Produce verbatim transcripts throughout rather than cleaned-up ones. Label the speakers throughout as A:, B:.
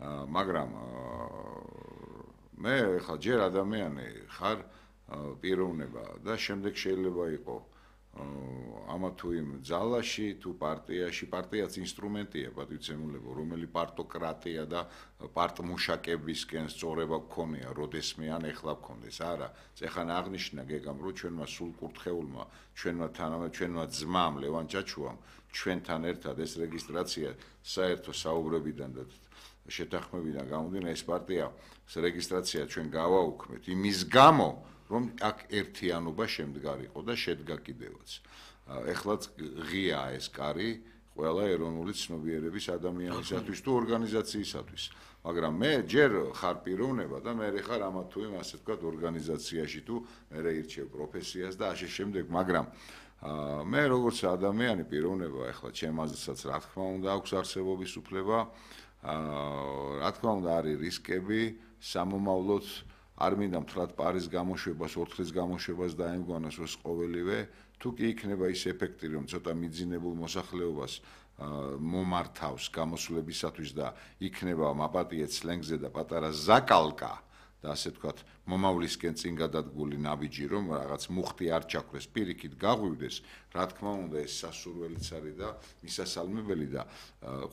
A: მაგრამ მე ხა ჯერ ადამიანი ხარ პიროვნება და შემდეგ შეიძლება იყო ამა თუ იმ ძალაში თუ პარტიაში პარტიაც ინსტრუმენტია პატივცემულებო რომელი პარტოკრატია და პარტმუშაკებისკენ სწორება გქონია როდესმე ან ეხლა გქონდეს არა ეხლა აღნიშნა გეგამ რომ ჩვენმა სულკურთხეულმა ჩვენმა თანამე ჩვენმა ძმამ ლევან ჩაჩუამ ჩვენთან ერთად ეს რეგისტრაცია საერთო საუბრებიდან და შეთანხმებიდან გამომდინარე ეს პარტია რეგისტრაცია ჩვენ გავაუქმეთ იმის გამო რომ აქ ერთიანობა შემდგარიყო და შედგა კიდევაც. ეხლაც ღია ეს კარი ყველა ეროვნული ცნობიერების ადამიანისათვის თუ ორგანიზაციისათვის. მაგრამ მე ჯერ ხარ პიროვნება და მე ხარ ამა თუ იმ ასე ვთქვათ ორგანიზაციაში თუ მე ირჩევ პროფესიას და ასე შემდეგ, მაგრამ მე როგორც ადამიანი პიროვნება ეხლა ჩემაზეც რა თქმა უნდა აქვს არსებობის უფლება, რა თქმა უნდა არის რისკები, სამომავლოდ არ მინდა მთლად პარის გამოშვებას, ორთქლის გამოშვებას დაემგვანოს ως ყოველივე, თუ კი იქნება ის ეფექტი, რომ ცოტა მიძინებულ მოსახლეობას მომართავს გამოსვლებისათვის და იქნება მაპატიე სლენგზე და პატარა ზაკალკა და ასე ვთქვათ, მომავლისკენ წინ გადადგული ნაბიჯი, რომ რაღაც მუხტი არ ჩაქრეს, პირიქით გაღვივდეს, რა თქმა უნდა, ეს სასურველიც არის და მისასალმებელი და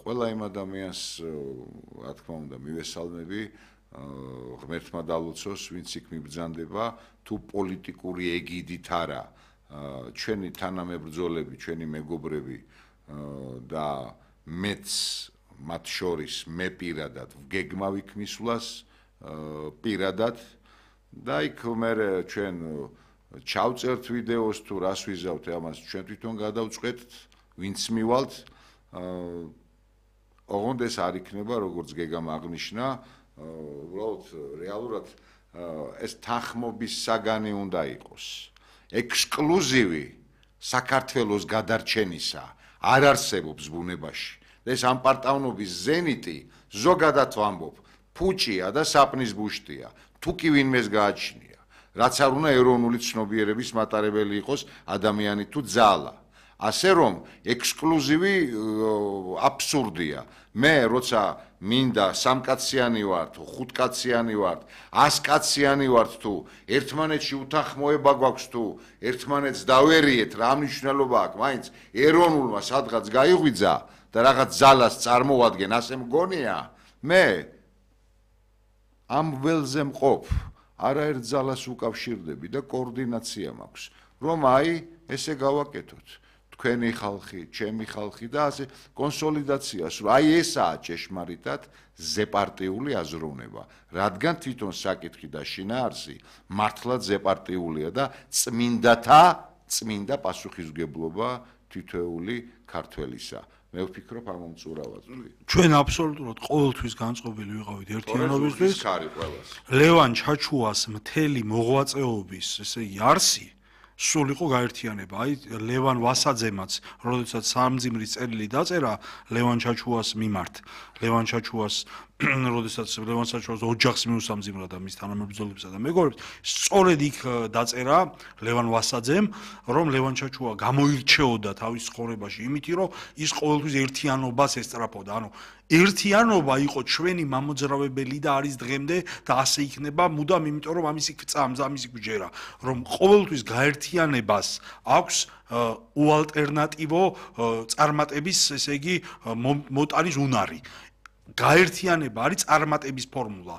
A: ყველა იმ ადამიანს, რა თქმა უნდა, მივესალმები ღმერთმა დალოცოს, ვინც იქ მიბრძანდება, თუ პოლიტიკური ეგიდით არა, ჩვენი თანამებრძოლები, ჩვენი მეგობრები და მეც მათ შორის მე პირადად ვგეგმავ იქ მისვლას პირადად და იქ მე ჩვენ ჩავწერთ ვიდეოს თუ რას ვიზავთ ამას ჩვენ თვითონ გადავწყვეტთ, ვინც მივალთ, ოღონდ ეს არ იქნება, როგორც გეგამ აღნიშნა, უბრალოდ რეალურად ეს თანხმობის საგანი უნდა იყოს. ექსკლუზივი საქართველოს გადარჩენისა არ არსებობს ბუნებაში. ეს ამპარტავნობის ზენიტი ზოგადად ვამბობ, ფუჭია და საპნის ბუშტია. თუ კი ვინმეს გააჩნია, რაც არ უნდა ეროვნული ცნობიერების მატარებელი იყოს ადამიანი თუ ძალა. ასე რომ ექსკლუზივი აბსურდია. მე როცა მინდა სამკაციანი ვარ თუ ხუთკაციანი ვარ, ასკაციანი ვარ თუ ერთმანეთში უთანხმოება გვაქვს თუ ერთმანეთს დავერიეთ რა მნიშვნელობა აქვს, მაინც ეროვნულმა სადღაც გაიღვიძა და რაღაც ძალას წარმოვადგენ, ასე მგონია, მე ამ ველზე მყოფ, არაერთ ძალას უკავშირდები და კოორდინაცია მაქვს, რომ აი ესე გავაკეთოთ. თქვენი ხალხი, ჩემი ხალხი და ასე კონსოლიდაციას, აი ესაა ჭეშმარიტად ზეპარტიული აზროვნება, რადგან თვითონ საკითხი და შინაარსი მართლაც ზეპარტიულია და წმინდათა, წმინდა პასუხისმგებლობა თითოეული ქართველისა. მე ვფიქრობ ამ მომწურავად.
B: ჩვენ აბსოლუტურად ყოველთვის განწყობილი ვიყავით ერთიანობისთვის. ლევან ჩაჩუას მთელი მოღვაწეობის, ესე იგი, არსი სულ იყო გაერთიანება. აი ლევან ვასაძემაც, როდესაც სამძიმრის წერილი დაწერა ლევან ჩაჩუას მიმართ, ლევან ჩაჩუას როდესაც ლევან ჩაჩუას ოჯახს მიუსამძიმრა და მის თანამებრძოლებსა და მეგობრებს, სწორედ იქ დაწერა ლევან ვასაძემ, რომ ლევან ჩაჩუა გამოირჩეოდა თავის ცხოვრებაში იმითი, რომ ის ყოველთვის ერთიანობას ესწრაფოდა. ანუ ერთიანობა იყო ჩვენი მამოძრავებელი და არის დღემდე და ასე იქნება მუდამ, იმიტომ რომ ამის იქ წამს, ამის იქ ჯერა, რომ ყოველთვის გაერთიანებას აქვს უალტერნატივო წარმატების, ესე იგი, მოტანის უნარი. გაერთიანება არის წარმატების ფორმულა.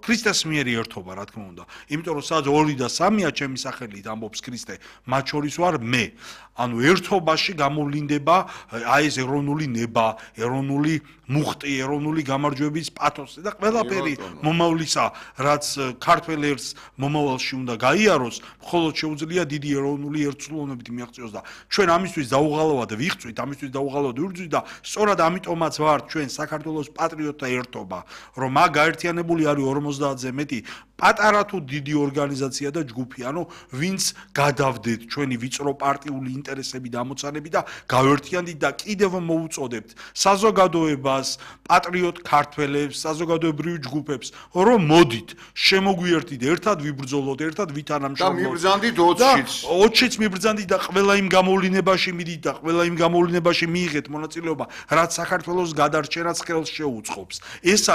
B: ქრისტეს მიერი ერთობა, რა თქმა უნდა. იმიტომ რომ სადაც ორი და სამია ჩემი სახელით ამბობს ქრისტე, მათ შორის ვარ მე. ანუ ერთობაში გამოვლინდება აი ეს ეროვნული ნება, ეროვნული მუხტი, ეროვნული გამარჯვების პათოსი და ყველაფერი მომავლისა, რაც ქართველ ერთს მომავალში უნდა გაიაროს, მხოლოდ შეუძლია დიდი ეროვნული ერთსულოვნებით მიაღწიოს და ჩვენ ამისთვის დაუღალავად ვიღწვით, ამისთვის დაუღალავად ვიბრძვით და სწორად ამიტომაც ვართ ჩვენ საქართველოს პატრიოტთა ერთობა, რომ მაგ გაერთიანებული არის ორმოცდაათზე მეტი პატარა თუ დიდი ორგანიზაცია და ჯგუფი, ანუ ვინც გადავდეთ ჩვენი ვიწრო პარტიული ინტერესები და ამოცანები და გავერთიანდით და კიდევ მოუწოდებთ საზოგადოებას, პატრიოტ ქართველებს, საზოგადოებრივ ჯგუფებს, რომ მოდით, შემოგვიერთდით, ერთად ვიბრძოლოთ, ერთად ვითანამშრომლოთ.
A: და მიბრძანდით ოცშიც.
B: ოცშიც მიბრძანდით და ყველა იმ გამოვლინებაში მიდით და ყველა იმ გამოვლინებაში მიიღეთ მონაწილეობა, რაც საქართველოს გადარჩენას ხელს შეუწყობს. ეს